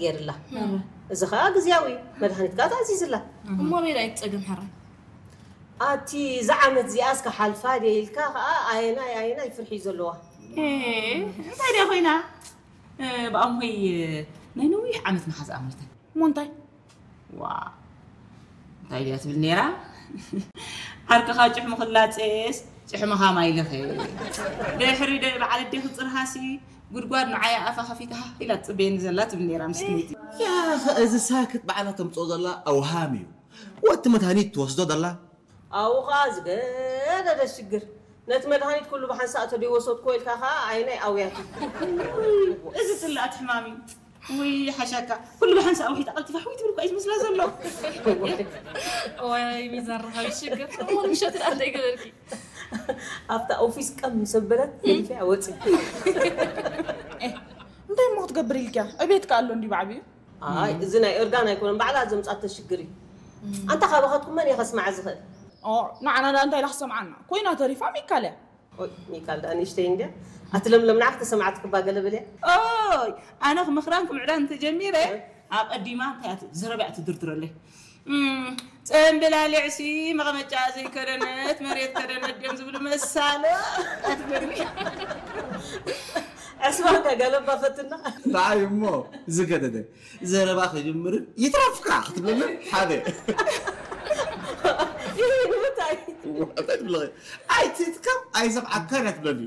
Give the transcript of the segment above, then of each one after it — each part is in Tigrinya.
ገይርላ። እዚ ኸኣ ግዝያዊ እዩ። መድሃኒት ከኣ ተኣዚዝላ። እሞ ኣበይ ደኣ እዩ እቲ ጸገም ሕራይ? ኣቲ እዛ ዓመት እዚኣስ ክሓልፋ ድየ ኢልካ ኸኣ ኣየናይ ኣየናይ ፍርሒ እዩ ዘለዋ። ኤ፣ እንታይ ድያ ኮይና? እ፣ ብኣምሆይ ናይ ነዊሕ ዓመት መሓዝኣ ሞይታ። እሞ እንታይ? ዋ፣ እንታይ ድያ ትብል ነይራ? ዓርክኻ ጭሕሙ ክላጸስ ጭሕምኻ ማይ ልኸ። ድሕሪ ደ-፣ በዓል ኣዴኺ ጽርሃሲ ጉድጓድ ንዓይ ኣፋ ከፊታ ኢላ ትጽበየኒ ዘላ ትብል ነይራ ምስኪነይቲ። ያኸ እዚ ሳክት ባዕላ ተምጽኦ ዘላ ኣውሃም እዩ። ወቲ መድሃኒት ትወስዶ ዘላ? ኣብኡ ኸኣ ዝገደደ ሽግር። ነቲ መድሃኒት ኩሉ ብሓንሳእ ተደይወሰድክዎ ኢልካ ኸኣ ኣይናይ ኣውያት እዩ። እዚ ጽላእቲ ሕማም እዩ። ውይ ሓሻካ፣ ኩሉ ብሓንሳእ ኣውሒጣ ቀልጢፋ ሕውይ ትብል እኳ እዩ ዝመስላ ዘሎ። ወይ ሚዛን ረኻቢ ሽግር። እሞ ንምሸት ደኣ እንታይ ገበርኪ? ኣብታ ኦፊስ ቀም ምስ ኣበለት ገዲፈያ ወጺ። እንታይ እሞ ክትገብር ኢልክያ? ዕቤት ከኣ ኣሎ እንዲ ብዓብዩ። ኣይ፣ እዚ ናይ ኦርጋን ኣይኮነን፣ ባዕላ ዘምጻቶ ሽግር እዩ። ኣንታ ካባኻትኩም መን እየ ከስምዓ ዝኽእል? ኦ፣ ንዓና ደኣ እንታይ ኢላ ክሰምዓና? ኮይና ተሪፋ ሚካል እያ። ኦይ፣ ሚካል ደኣ ንእሽተይ እንድያ። ኣቲ ለምለም ንዓ ክተሰምዓትክባ ገለ በልያ። ኦይ፣ ኣነ ክምኽራን ክምዕዳን እንተጀሚረ፣ ኣቐዲማ እንታይ እያ ት-፣ ዘረባ እያ ትድርድረለይ። እም፣ ጽምብላሊዕሲ መቐመጫ ዘይከደነት መሬት ከደነት ድዮም ዝብሉ መሳሎ ኣትበልኒ። ዕስባ ከ ገለባ ፈትና። ንዓይ እሞ ዝገደደ ዘረባ ክጅምርን ይትረፍካ ክትብለኒ ሓደ። ይህ ንምንታይ? እንታይ ትብለኺ? ኣይትትከም ኣይሰምዓካን እያ ትብለኒ።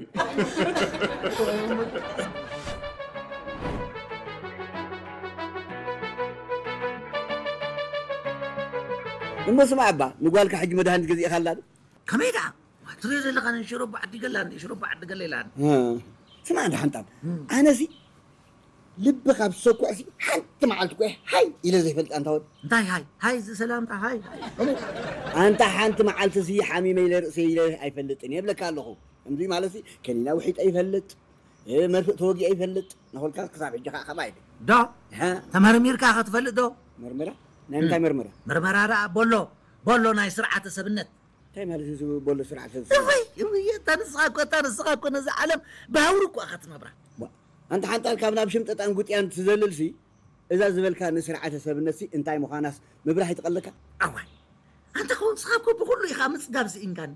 እሞ ስማዕ እባ ንጓልካ ሕጂ መድሃኒት ገዚእኻላ ዶ? ከመይ ደኣ? ትሪኦ ዘለኻ ነን ሽሮቦ ዓዲ ገላ እንዲ ሽሮቦ ዓዲ ገላ ኢላ። እ፣ ስማዕ እንዳ ሓንጣብ፣ ኣነሲ ልቢ ካብ ዝሰኩዕሲ ሓንቲ መዓልቲ እኮ እየ ሃይ ኢለ ዘይፈልጥ ኣንታ ወድ። እንታይ ሃይ? ሃይ እዚ ሰላምታ ሃይ። ኣንታ ሓንቲ መዓልትሲ ሓሚመ ኢለ ርእሰይ ኢለ ኣይፈልጥን እየ እብለካ ኣለኹ። ከምዚ ማለትሲ ከኒና ውሒጠ ይፈልጥ፣ እ፣ መርፍእ ተወጊአ ይፈልጥ። ናኾልካ ክሳብ ሕጂ ከዓ ከምኣ ኢለ። ዶ? እሀ። ተመርሚርካ ኸ ትፈልጥ ዶ? መርመራ? ናይ ምንታይ መርመራ? መርመራ ደኣ ቦሎ፣ ቦሎ ናይ ስርዓተ ሰብነት። እንታይ ማለት እዩ ዝብል ቦሎ ስርዓተ ሰብነት? እውይ፣ እውይ፣ እታ ንስኻ እኮ፣ እታ ንስኻ እኮ ነዛ ዓለም ብሃውሪ እኮ ኢኻ ትነብራ። ዋ፣ ኣንታ ሓንጣል ካብ ናብ ሽምጥጣን ጉጥያን ትዘልልሲ፣ እዛ ዝበልካ ንስርዓተ ሰብነትሲ እንታይ ምዃናስ ምብራህ ይትቐለካ? ኣዋይ፣ ኣንታ ኸው ንስኻ እኮ ብኹሉ ኢኻ ምጽጋብ ስኢንካኒ።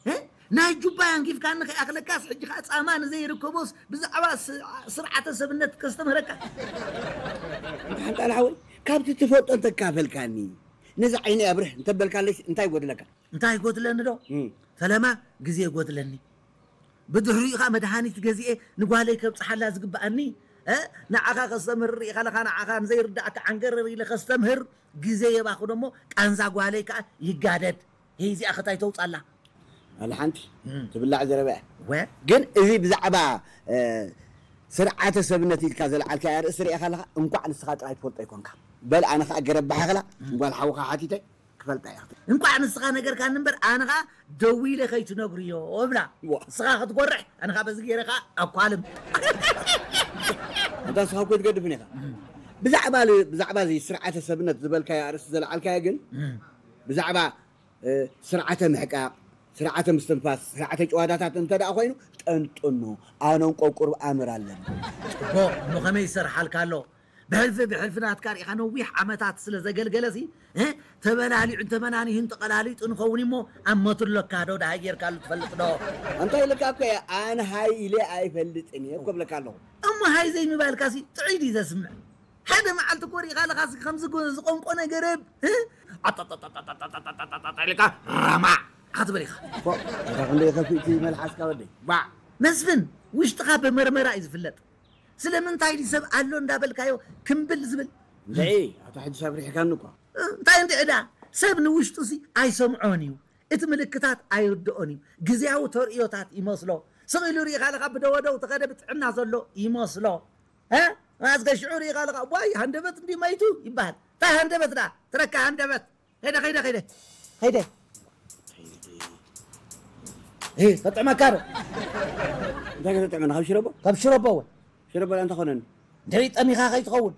እ? ናይ ጁባ ኣንጊፍካኒ ከይኣኽለካስ፣ ሕጂ ኸኣ ጻማ ንዘይርከቦስ ብዛዕባ ስ-፣ ስርዓተ ሰብነት ከስተምህረካ። ሓንጣል ሓወይ፣ ካብቲ ትፈልጦ እንተካፈልካኒ፣ ነዚ ዓይነይ ኣብርህ እንተበልካለይስ እንታይ ይጎድለካ? እንታይ ይጎድለኒ ዶ? እም። ፈለማ ግዜ ይጎድለኒ። ብድሕሪኡ ኸኣ መድሃኒት ገዚኤ ንጓለይ ከብጽሓላ ዝግብኣኒ፣ እ? ንዓኻ ከስተምህር ርኢኻ ኣለኻ፣ ንዓኻ ንዘይርዳእካ ዓንገረር ኢለ ከስተምህር ግዜ የባኽኖ እሞ ቃንዛ ጓለይ ከኣ ይጋደድ። ሄይ፣ እዚኣ ኸ እንታይ ተውጻላ? ኣላ ሓንቲ እም። ትብላዕ ዘረባ እያ። ወ? ግን እዚ ብዛዕባ፣ እ፣ ስርዓተ ሰብነት ኢልካ ዘልዓልካያ ኣርእስቲ ርኢኻ ኣለኻ፣ እንቋዕ ንስኻ ጥራይ ትፈልጦ ኣይኮንካ። በል ኣነ ኸኣ ገረብ ባሕኽላ ጓል ሓውኻ ሓቲተ ክፈልጣ እየ። እንቋዕ ንስኻ ነገርካኒ እምበር ኣነ ኸኣ ደዊለ ከይትነግርዮ እብላ። ዋ። ንስኻ ክትጎርሕ ኣነ ኸኣ በዚ ገይረ ኸኣ ኣኳልም። ኣንታ ንስኻ እኮ ኣይትገድፍን ኢኻ። ብዛዕባ ል-፣ ብዛዕባ እዚ ስርዓተ ሰብነት ዝበልካዮ ኣርእስቲ ዘልዓልካዮ ግን እም። ብዛዕባ እ፣ ስርዓተ ምሕቃቕ፣ ስርዓተ ምስትንፋስ፣ ስርዓተ ጭዋዳታት እንተ ደኣ ኮይኑ ጠንጥኖ፣ ኣነ እንቆ ቁሩብ ኣምር ኣለኒ። ጽቡቕ፣ እሞ ከመይ ይሰርሓልካ ኣሎ? ብሕልፊ ብሕልፊ ናትካ ርኢኻ ነዊሕ ዓመታት ስለ ዘገልገለሲ፣ እ፣ ተበላሊዑን ተመናኒሁን ተቐላሊጡ ንኸውን እሞ ኣብ መትለካ ዶ ደሃይ ጌርካሉ ትፈልጥ ዶ? እንታይ ኢልካ እኮ እየ፣ ኣነ ሃይ ኢለ ኣይፈልጥን እየ እኮ እብለካ ኣለኹ። እሞ ሃይ ዘይምባልካሲ ጥዑይ ድዩ ዘስምዕ? ሓደ መዓልቲ እኮ ርኢኻ ኣለኻሲ ከምዚ ጎ-፣ ዝቆንቆነ ገረብ፣ እ? ኣጣጣጣጣጣጣጣጣጣጣጣ ኢልካ ራማዕ ክትብል ኢኻ። ፎእ፣ ኣታ ክንደይ ከፊእቲ መልሓስካ ወደይ። ባዕ። መስፍን፣ ውሽጥኻ ብመርመራ እዩ ዝፍለጥ። ስለምንታይ ድዩ ሰብ ኣሎ እንዳበልካዮ ክምብል ዝብል? እንድዒ፣ ኣታ ሕጂ ሰብ ሪሕካኒ እኳ። እንታይ እንድዒ ደኣ? ሰብ ንውሽጡሲ ኣይሰምዖን እዩ። እቲ ምልክታት ኣይርድኦን እዩ። ግዝያዊ ተርእዮታት ይመስሎ። ስቕ ኢሉ ርኢኻ ኣለኻ ብደወደው ተኸደ ብጥዕና ዘሎ ይመስሎ። እ? ኣስገ ሽዑ ርኢኻ ኣለኻ፣ ዋይ፣ ሃንደበት እንዲ መይቱ ይበሃል። እንታይ ሃንደበት ደኣ? ትረካ ሃንደበት። ከይደ፣ ከይደ፣ ከይደ። ከይደ። እ፣ ከጥዕመካ ዶ? እንታይ ከተጥዕመና? ካብ ሽረቦ? ካብ ሽረቦ እውን። ሽረቦ ደኣ እንታይ ኾነኒ? እንድዒ ጠሚኻ ከይትኸውን።